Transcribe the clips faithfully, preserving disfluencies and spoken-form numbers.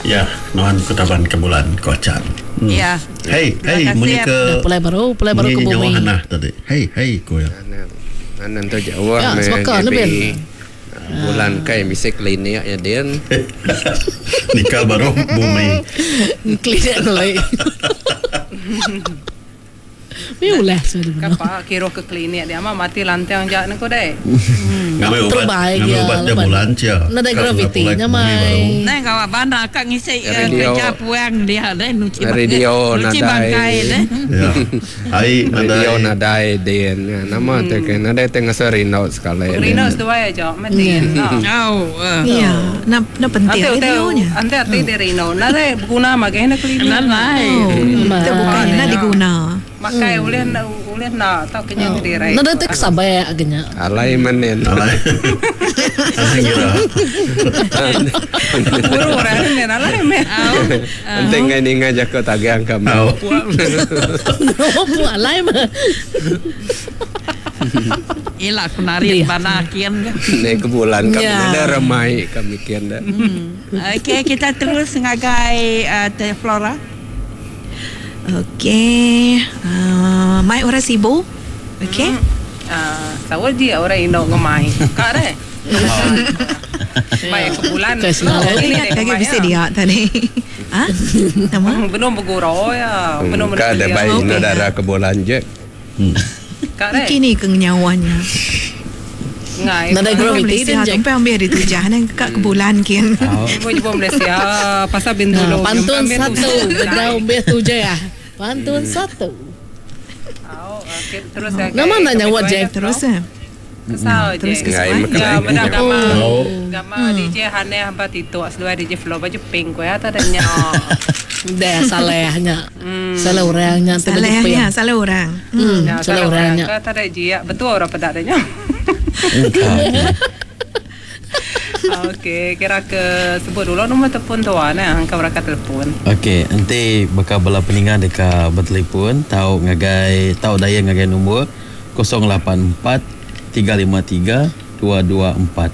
Ya, nuan ku taban ke bulan ko Chan. Hmm. Ya. Hey, Terima hey, kasih, munyi ya. ke Dah pulai baru, pulai baru ke munyi nyawa bumi. Hanah tadi. Hey, hey ko ya. Anan anan tu jauh Ya, meh sebaka G B. ne, Ben. Bulan kai bisi klinik ya din. Nikah baru bumi. Klinik ngelai. Ni ulah sudah. Kapa kira ke klinik dia mah mati lantang jak ne ko deh. Ngambil ubat, Terbaik ngambil ya, ubat dia lepas. bulan cia. Nadai Ka graviti pulai nya ke bumi mai. baru. Nai kawa bana kak ngisi eh, Radio. kerja puang dia deh nuci Radio nuci nadai. bangkai deh. Ya. Ai Radio nadai. nadai din. Nama tu ke nadai tengah serindau sekali. Rino seduai aja mati. Oh, eh. Ya, na na penting Ante radionya. ante ate de Rino. Nare guna magai na klinik. Lalai. Oh, itu bukan na diguna. Makai ulih na ulih na tau kenya dirai. Nadai tek sabai agaknya. Alai manen. Alai. Alai kira. Buru orang ni alai me. Nanti ngai ninga jago tagang kami. Au. Oh, alai mah. Ila aku narik bana kian ke. Ni ke bulan kami Ya. ada ramai kami kian dah. Okey, kita terus ngagai uh, Teh Flora. Okey, uh, mai orang sibuk. Okey. Ah, sawal dia orang Indo ngemai. Kak deh. Baik ke bulan. Ke selalu. Ini Ingat dia kaki ngemai, bisa ya. dia tadi. Ha? Nama? Belum bergurau ya. Belum Ka ada baik Okey. no darah ke bulan je. Kak deh. Kini ke nyawanya. Ngai. Nadai Orang graviti Malaysia din Jack. sampai ambil ditujah nang kak ke bulan kian. Ibu ibu Malaysia pasal Bintulu. Nah, pantun satu, bedau beh tujuh ya. Pantun satu. Terus ya. Nama nak nyawa Jack. Terus eh. Kesal Terus je. kesal. Ngai makan. Ya, benar gama. Oh. Gama D J Haneh hamba tituk seluar D J Flo baju pink ko ya tak ada nya. Dah salehnya. Salah orangnya tu baju Salahnya, pink. salah orang. Hmm, Ya, salah orangnya. Ka tak ada jia, betul orang pedak adanya. Okey, kira ke sebut dulu nombor telefon tuan eh, angka berapa telefon. Okey, nanti bakal bala peningan dekat bertelefon tahu ngagai tahu daya ngagai nombor kosong lapan empat tiga lima tiga dua dua empat.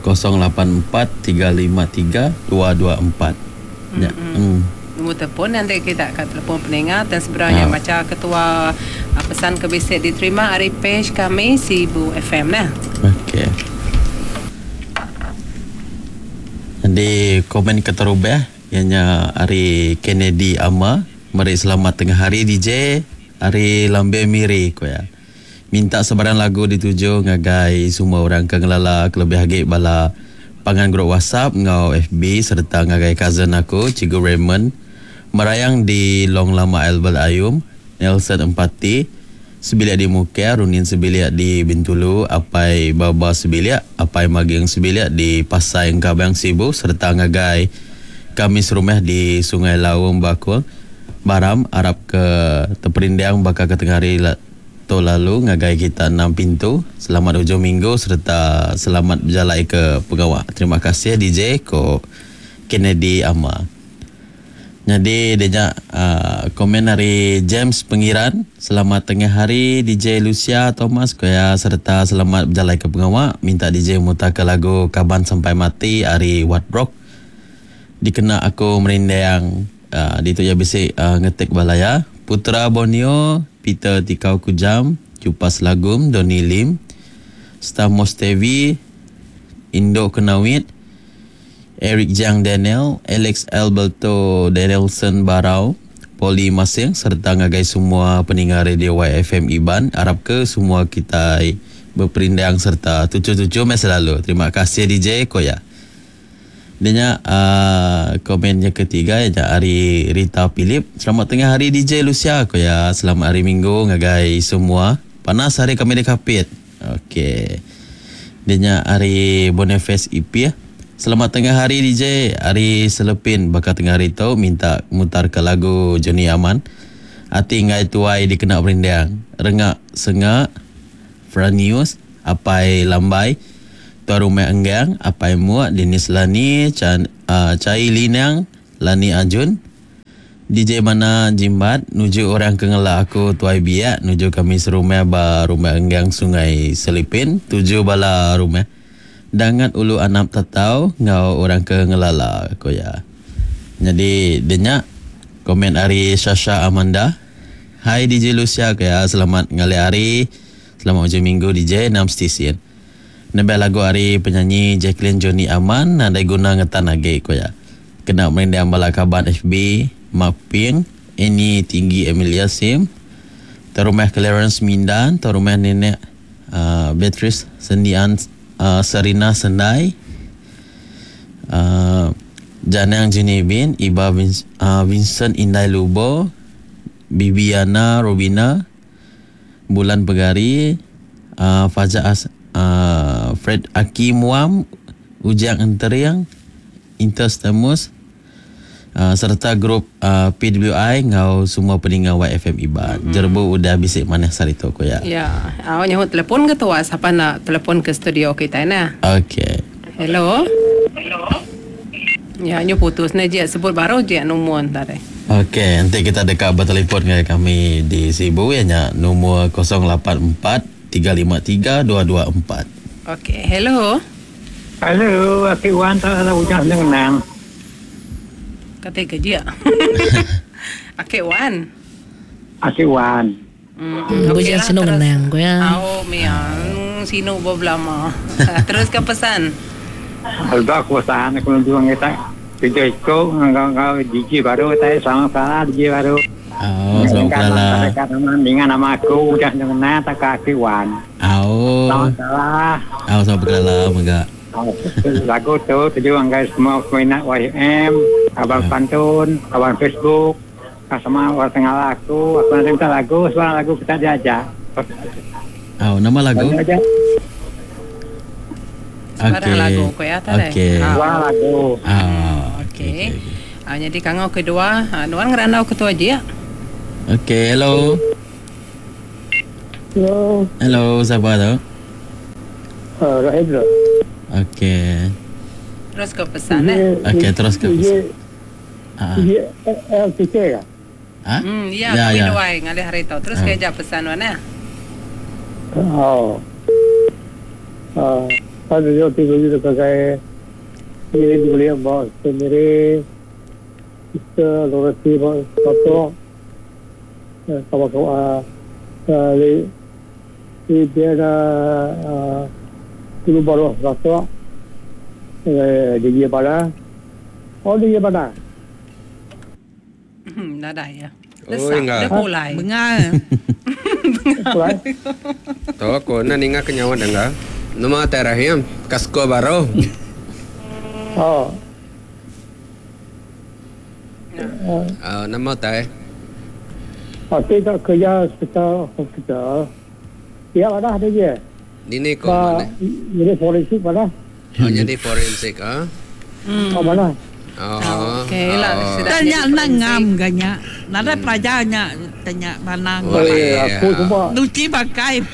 kosong lapan empat tiga lima tiga dua dua empat. Ya. Hmm. Nombor telefon nanti kita akan telefon peningat dan sebenarnya Ah. macam ketua ah, pesan ke bisik diterima hari page kami Sibu F M nah. Okey. Jadi komen keterubah ianya hari Kennedy Ama meri selamat tengah hari D J hari Lambe Miri ko ya. Minta sebarang lagu dituju ngagai semua orang ke ngelala kelebih agi bala pangan grup WhatsApp ngau F B serta ngagai cousin aku Cikgu Raymond merayang di Long Lama Albert Ayum Nelson Empati sebilik di Mukia, Runin sebilik di Bintulu, Apai Baba sebilik, Apai Maging sebilik di Pasai Engkabang Sibu serta ngagai kami serumah di Sungai Lawang Bakul Baram Arab ke Teperindang bakal ke tengah hari la- tu lalu ngagai kita enam pintu. Selamat hujung minggu serta selamat berjalan ke pegawai. Terima kasih D J ko Kennedy Ama. Jadi dia uh, komen dari James Pengiran. Selamat tengah hari D J Lucia Thomas Koya serta selamat berjalan ke pengawak. Minta D J mutar ke lagu Kaban Sampai Mati hari Wat Rock. Dikena aku merindang uh, di tu ya bisik uh, ngetik balaya. Putra Borneo, Peter Tikau Kujam, Cupas Lagum, Doni Lim, Stamos T V, Indo Kenawit, Eric Jiang Daniel, Alex Alberto Danielson Barau, Poli Masing serta ngagai semua pendengar radio Y F M Iban. Harap ke semua kita berperindang serta tujuh-tujuh masa lalu. Terima kasih D J Koya. Dia uh, komennya ketiga ya hari Rita Philip. Selamat tengah hari D J Lucia Koya. Selamat hari Minggu ngagai semua. Panas hari kami di Kapit. Okey. Dia hari Boniface E P ya. Selamat tengah hari D J. Hari Selepin bakal tengah hari tu minta mutar ke lagu Johnny Aman. Ati ngai tuai dikena berindang. Rengak sengak Franius, Apai Lambai, Tuan Rumah Enggang, Apai Muak, Denis Lani, Chan, uh, Cai Linang, Lani Ajun, D J Mana Jimbat, nuju orang kengelak aku Tuai Biak, nuju kami serumah ba Rumah Enggang Sungai Selipin, tuju bala rumah. Dangat ulu anap tatau ngau orang ke ngelala ko ya. Jadi denya komen ari Sasha Amanda. Hai D J Lucia ke selamat ngalih hari. Selamat hujung minggu D J enam stesen. Nebe lagu ari penyanyi Jacqueline Johnny Aman nadai guna ngetan agi ko ya. Kena merindang bala kaban F B Maping ini tinggi Emilia Sim. Terumah Clarence Mindan, terumah nenek uh, Beatrice Sendian uh, Serina Sendai. Uh, Janang Jenibin, Iba Vin, uh, Vincent Indai Lubo, Bibiana Robina, Bulan Pegari, uh, Fajar As, uh, Fred Aki Muam, Ujang Enteriang, Interstemus, uh, serta grup uh, P W I ngau semua pendengar Y F M Iban. Mm-hmm. Jerbu udah bisik maneh sarito ko ya. Ya, awak nyahut telefon ke tua siapa nak telefon ke studio kita nah. Okey. Hello. Hello. Ya, nyu putus ni je sebut baru je nombor tadi. Okey, nanti kita dekat bertelefon dengan kami di Sibu ya nya nombor kosong lapan empat tiga lima tiga dua dua empat. Okey, hello. Hello, aku Wan tak ada hujan senang. Kata kerja. Okey Wan. Okey Wan. Hmm, hujan senang menang ko ya. Au miang sino boblama. Terus ke pesan. Alba aku pesan aku nak kita kerja ikut ngau D J baru saya sama salah D J baru. Oh, selamat kenalan. Dengan nama aku udah kenal tak kaki Wan. Oh. Sama salah. Oh, selamat berkenalan mega. Lagu tu tuju anggai semua peminat Y M, abang pantun, abang Facebook, sama orang tengah aku, aku nak minta lagu, sebarang lagu kita diajak. Oh, nama lagu? Sebarang lagu ko ya tadi. Okey. Sebarang lagu. Ah, okey. Ah, jadi kangau kedua, ah, nuan ngerandau ketua aja ya. Okey, hello. Hello. Hello, siapa tu? Uh, Rahim tu. Okey. Terus ke pesan eh. Okey, terus ke pesan. Ah. L T K ke? Ha? Hmm, ya, ya, ya. Dua ngalih hari tu. Terus ke jap pesan wan eh. Oh. Ah, ada jo tiga juta pakai ini dibeli bos sendiri kita lorasi bos satu kawan kawan li li dia dulu baru satu dia pada oh dia pada nada ya lesak dia pulai bengal bengal tu aku nak ingat kenyawa dengar nama Terahim, kasko baru. Oh. Uh, nama teh. Oh, tidak kerja hospital hospital. Ya, ada ada je. Ini kok mana? Jadi forensik mana? Oh, jadi forensik ah. Hmm. Oh, mana? Oh. Okey lah. Tanya nak ngam ganya. Nada pelajarnya tanya mana. Aku semua. Nuci pakai.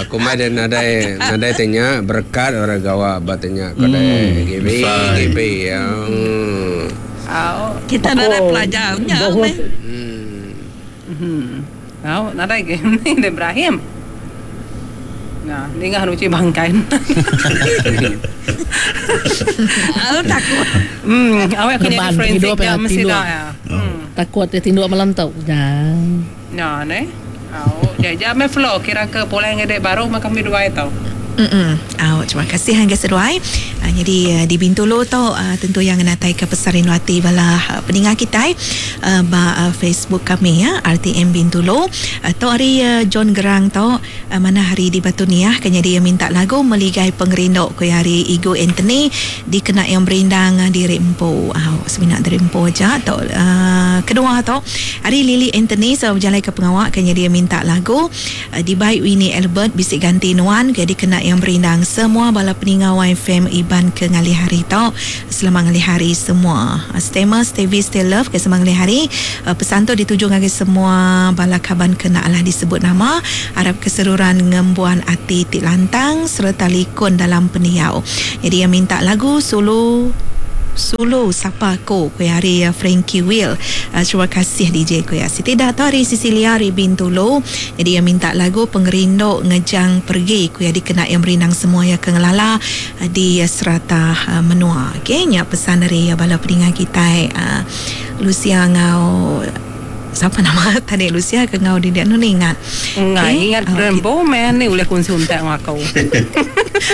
Aku mah dan nadai nadai tanya berkat orang gawa batanya kodai G B G B yang kita nadai pelajarnya ni. Hmm. Tahu nadai ke ni Ibrahim. Nah, ni ngah nuci bangkai. Aku takut. Hmm, awak kena forensik ya mesti dah ya. Takut dia tinduk malam tau. Jangan. Nah, ne. Oh, jajah me flow kira ke pola yang ngedek baru mah kami dua itu. Mm-mm. Oh, terima kasih hangga seduai. Uh, jadi uh, di Bintulu tu uh, tentu yang natai ke pesarin wati bala uh, pendengar kita uh, ba uh, Facebook kami ya R T M Bintulu. Uh, tu hari uh, John Gerang tu uh, mana hari di Batu Niah kena dia minta lagu Meligai Pengerindu ku hari Igo Anthony dikena yang berindang uh, di Rempo. Uh, seminat dari Rempo aja tu uh, kedua tu hari Lily Anthony so berjalan ke pengawak kena dia minta lagu uh, di baik Winnie Albert bisik ganti nuan jadi kena yang berindang semua bala peninggal Y F M Iban ke ngalih hari tau. Selamat ngalih hari semua. Stema, Stevie, Stay Love ke selamat ngalih hari. Pesan tu dituju ngagai semua bala kaban kena Allah disebut nama. Harap keseluruhan ngembuan ati ti lantang serta likun dalam peniau. Jadi yang minta lagu solo Sulu Sapa Aku ku hari uh, Frankie Will. Uh, terima kasih D J ku ya. Siti dah tu hari Cecilia hari Bintulu. Jadi yang minta lagu Pengerindu Ngejang Pergi ku ya dikena yang merindang semua ya ke ngelala uh, di uh, serata uh, menua. Okey, nya pesan dari uh, bala peningan kita uh, Lucia ngau siapa nama tadi Lucia ke ngau di dia nu ingat. Ngai Okey. ingat Ah, rembo man ni ulih kunsi untak aku.